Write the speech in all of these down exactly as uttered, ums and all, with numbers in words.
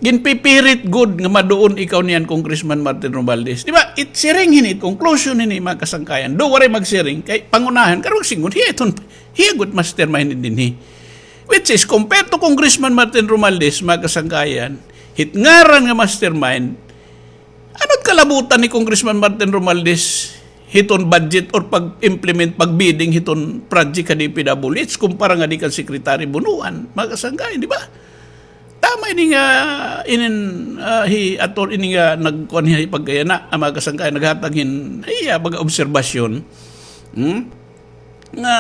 Ginpipirit gud nga maduon ikaw niyan, Congressman Martin Romualdez. Di ba? It siring hini, it conclusion hini, mga kasangkayan. Do waray magsiring, kay pangunahan, karon magsiring, hiya iton, hiya gud mastermind dinhi. Which is, compared to Congressman Martin Romualdez, mga kasangkayan, hit ngaran nga mastermind, ano it kalabutan ni Congressman Martin Romualdez hiton budget or pag-implement, pag-bidding hiton project ha D P W H kumpara ngadi kan Secretary Bonoan, mga kasangkayan, di ba? Tama ini nga, inin, ah, hi Ator, ini nga nagkuan hi pagkayana, ang mga kasangkayan naghatag hin, iya, baga obserbasyon. Hmm? Nga,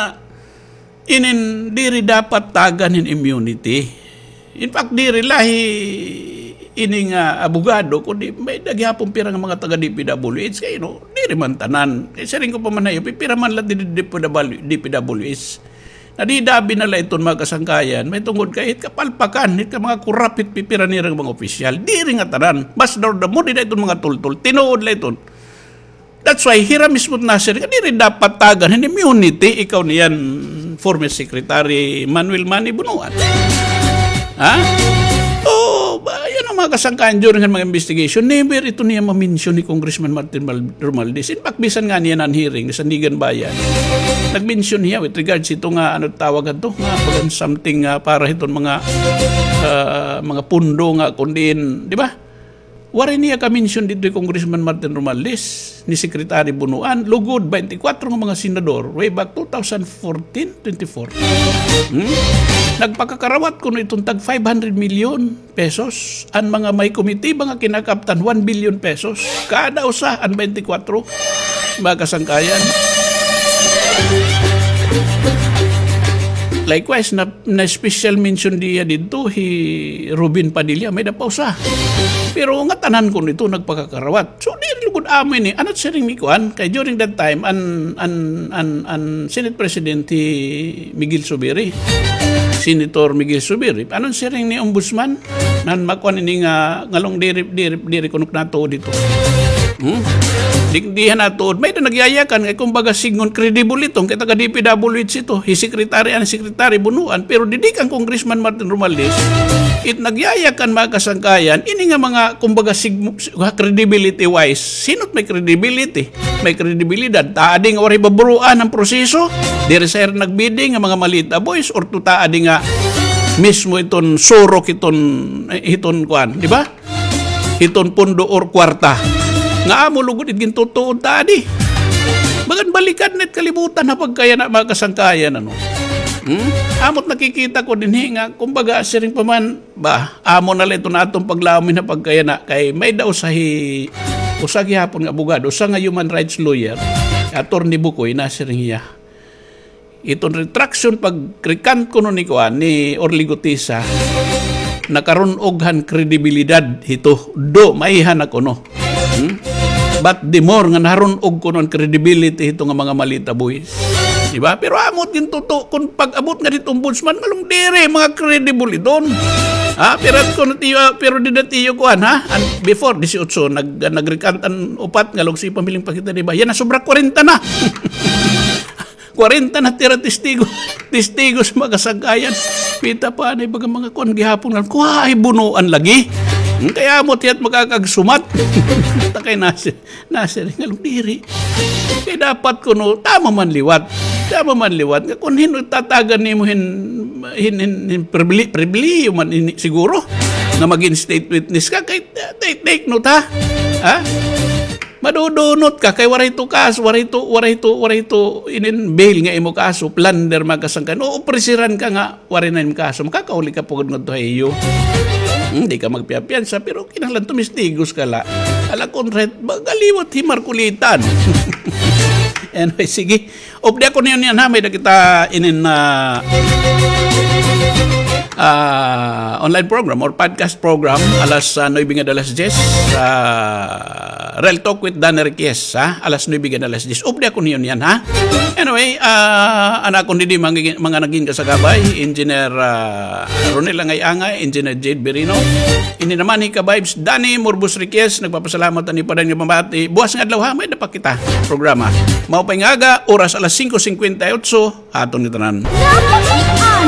inin diri dapat tagan hin immunity. In fact, diri la hi ini nga abogado, kundi may-ada gihapon pira nga mga taga D P W H kay, no, diri man tanan. Kay siring ko pa man ha iyo, pipira man la didi D P W, D P W H. Nadidabi na la iton mga kasangkayan, may tungod kay hit kapalpakan, hit ka mga kurap, hit pipira nira nga mga opisyal. Diri nga tanan. Mas damo dida iton mga tultol. Tinuod la iton. That's why, hira mismo nasiring nga diri dapat tagan hin immunity ikaw niyan, former Secretary Manuel Manny Bonoan. Ha? Oh, ba, yan ang mga kasangkayan during han mga investigation. Never ito niya ma-mention ni Congressman Martin Mal-, Romualdez. In fact, bisan nga niya nan hearing sa Sandiganbayan, nag-mention hiya with regards ito nga, ano tawag ato, nga bagan something nga para hiton mga, ah, mga pundo nga kundiin, di ba? Waray niya ka-mention didto hi Congressman Martin Romualdez, ni Secretary Bonoan, lugod twenty-four nga mga senador, way back two thousand fourteen, twenty-four. Hmm? Nagpakakarawat kuno iton tag five hundred million pesos, an mga may komitiba nga kinakaptan one billion pesos, kada usa an twenty-four, mga kasangkayan. Likewise, na na special mention diya didto hi Robin Padilla, may-ada pa usa. Pero ngatanan kuno ito nagpakakarawat. So, diri lugod amo ini. Ano siring ni kuan? Kay during that time, an, an, an, an Senate President hi Miguel Zubiri. Senator Miguel Zubiri. Ano siring ni Ombudsman? Nan makuan ini nga ngalong diri, diri, diri kuno natuod ito. Hmm? Di, di han natuod. May-ada nagyayakan, kay kumbaga, sidngon credible iton, kay taga D P W H ito. Hi Secretary, an Secretary Bonoan, pero didi kan Congressman Martin Romualdez, it nagyayakan mga kasangkayan, ini nga mga, kumbaga, sig-, sig-, credibility wise, sino it may credibility? May kredibilidad. Taa adi nga waray baburuan an proseso, diri sa ira nagbidding nga mga malita boys, or to taa adi nga mismo iton surok iton, eh, iton kuan, di ba? Hiton pundo or kwarta. Nga amo lugod it gintutuod ta adi. Bagan balikan na it kalibutan ha pagkayana, mga kasangkayan, ano. Hmm? Amo it nakikita ko dinhi nga, kumbaga, siring pa man, ba, amo na la iton aton paglaom ha pagkayana, kay may-ada usa hi, usa gihapon nga abogado, usa nga human rights lawyer, Attorney Bukoy, nasiring hiya. Iton retraction pag-recant kuno ni kuan, ni Orly Guteza, nakarun-og han kredibilidad hito, do maiha na kuno. Hmm? But the more nga naharun-og kuno an credibility hito nga mga malita boys. Di ba? Pero amo it gintutuod, kon pag-abot nga didto ombudsman, ngalong diri, mga credible iton. Ha? Pero kon tiyo, pero dida tiyo kuan, ha? An, before, disiotso, nag-, nag-recant an upat, ngalong sige pa man la pakita, di ba? Yana, sobra kwarenta na. Kwarenta na tira testigo. Testigo sa mga kasangkayan. Pita pa anay baga mga kuan gihapon nga, kuha ay bunuan lagi. Hmm, kay amo it hiya it makakagsumat. Ta kay nasi-, nasiring ngalong diri. Kay dapat kuno, tama man liwat. Tama man liwat. Nga kon hin-o tatagan nimo hin, hin, hin, hin pribili-, pribilihiyo man ini siguro. Nga magin state witness ka, kay, take, take note, ha? Ha? Madudunot ka kay waray to kaso, waray to, waray to, waray to inin bail nga imo kaso, plunder, mga kasangkayan. O, opresiran ka nga waray na imo kaso, makakauli ka pugad ngadto ha iyo. Hmm, di ka magpiyapiyansa, pero kinahanglan tumistigos ka la. Ala, kon right, magaliwat hi Markulitan. Anyway, sige. Updi ako niyo niyan, ha, may-ada kita inin, ah, ah, online program or podcast program, alas, ah, nuebe ngada alas diyes, ah, Real Talk with Danny Riquez, ha, alas nuebe ngada alas diyes. Updi ako niyo niyan, ha. Anyway, ah, an akon didi mga, mga nagin kasagabay, Engineer, ah, Ronel Angay-angay, Engineer Jade Birino. Ini naman hi ka-vibes Danny Morbos Riquez, nagpapasalamat an ipadan nga pamati. Buwas nga adlaw, ha, may-ada pa kita programa. Maupay nga aga, oras alas singko singkwenta y otso, aton ngatanan.